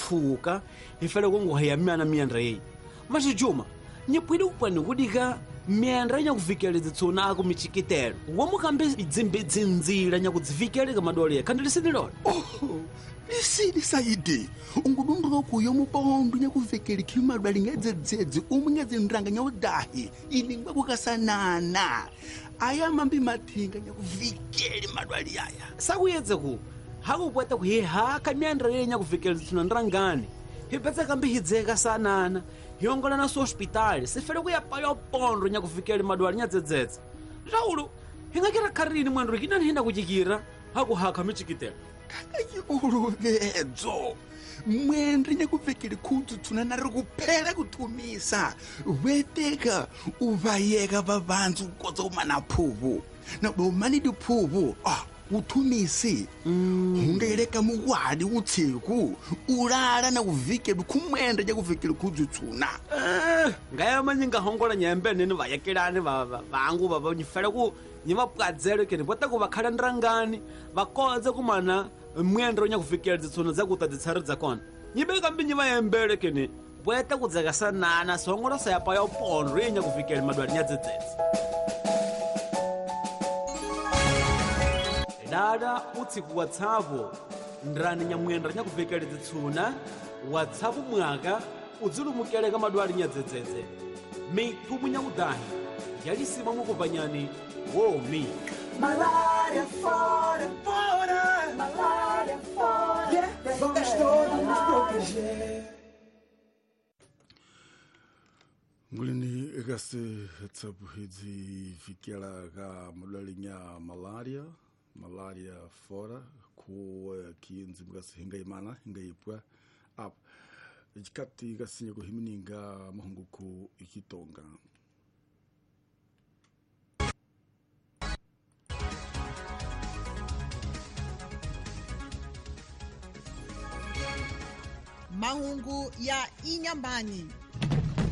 tshuka hi fele ku nghohe ya myana myandra yeyi mas juma nyipwile kupwani kudika myandra nyakuvikeleza tsona aku michikitelo womukambe dzimbe dzinzila nyakudzivikeleka madwale kandi lisini lona. Oh, lisini saidi ungudunduka kuyo mupondo nyakuvekeli khimadwali ngedzedzedze umwe ngedzindrang nyaudahi ilingwa kukasanana aya mambi mathinga nyakuvikeli madwali aya sakuyedze ku hakupweta kuhihaka myandra yeyi nyakuvikeli tsona ndrangani hipetsa kambi hidzeka sanana hiongola na hospitali sifele kuya paya pondo nyakuvikeli madwali nyadzedzedze Raulu hingakira kharini mwandro kinani hina kuchikira hakuhakha michikitelo kakaiuluvedzo mwendre nyakuvekeli khudzutsuna na ri kuphela kuthumisa weteka uvayeka vavandzi kukotsa umana phuvu na umani diphuvu uthumisi hungeleka muwadi utsiku ulala na kuvikela khumwenda nyakuvekeli khudzutsuna. Ngaya manyinga hongola nyembe nini vayekelani vangu vava nyifela ku nyivapwadzelo kene vota ku vakhala ndrangani vakodze kumana mwendro nyakuvikela dzitsuna dza kuta dzitsari dza kona nyibeka mbi nyivayembele kene voeta kudzeka sanana songola sayapa ya upondro ye nyakuvikela madwali nyadzedzedze. Dada utsiku watsavo ndrani nyamwendra nyakuvekele dzitsuna watsavu mwaka udzilumukeleka madwali nyadzedzedze mithumu nyakudahi yalisima mukupanyani womi. Malaria fora, fora, malaria fora, yeah, vamos todos nos proteger. Ngulini ekasi tsabu hidzi fikela ka madwali nya malaria malaria fora ku kinzi mukasi hinga imana hinga ipwa up ikati kasinya kuhimininga mahunguku ikitonga. Mahungu ya Inyambani.